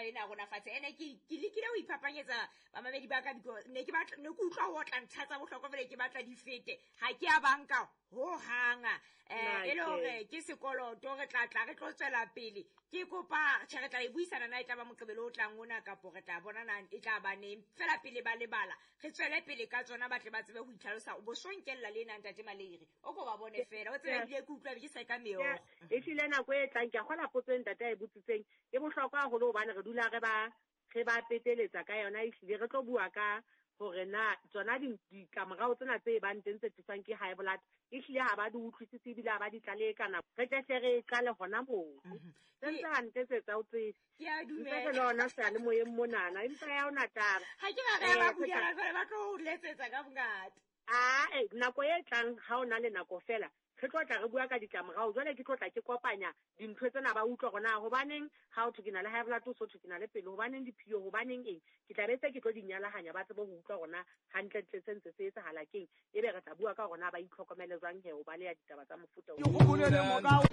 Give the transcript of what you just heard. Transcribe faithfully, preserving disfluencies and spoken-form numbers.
taba ena ya rona fatshe. Ene ke ke lekile ho iphapanyetsa bamamedi ba ka because ne ke batla ne ke utlwa ho otla ntlha tsa bohlokwa fela ke batla di fete. Ha ke a banka ho hanga. Eh e le hore ke sekoloto re tla tla re tlo tswela pele. Ke kopa tjhe re tla e buisana na e tla ba Moqebelo o tlang ona kapo re tla bona na e tla ba neng. Fela pele ba lebala re tswele pele ka tsona ba tle ba tsebe ho itlhalosa. O bo so nkella le ena ntate Maleire. O ko ba bone fela o tsebe ebile ke utlwa ke sa ka meokgo. E hlile nako e tlang ke a kgola potso e ntate a e botsitseng e bohlokwa haholo hobane re dula re ba re ba peteletsa ka yona. Ehlile re tlo bua ka hore na tsona ditlamorao tsena tse bang teng tse tliswang ke high blood ehlile ha ba di utlwisise ebile ha ba di tlalehe ka nako. Re tle hle re qale hona moo. Se ntse hantle tse tsa o tsebe. Ke a dumela. Ntse re le hona seyalemoyeng monana empa ya hona taba. Ha ke ba re ba bulela jwale ba tlo o letsetsa ka bongata. Ah, eh, nako e tlang ha o na le nako fela re tlo tla re bua ka ditlamorao. Jwale ke tlo tla ke kopanya dintho tsena ba utlwa hore na hobaneng ha o thwe ke na le high blood, o so thwe ke na le pelo, hobaneng diphio, hobaneng eng. Ke tla be se ke tlo di nyalahanya ba tsebe ho utlwa hore na hantlentle se ntse se etsahala keng. Ebe re tla bua ka hore na ba itlhokomele jwang he ho baleha ditaba tsa mofuta oo. Ke hopole le morao.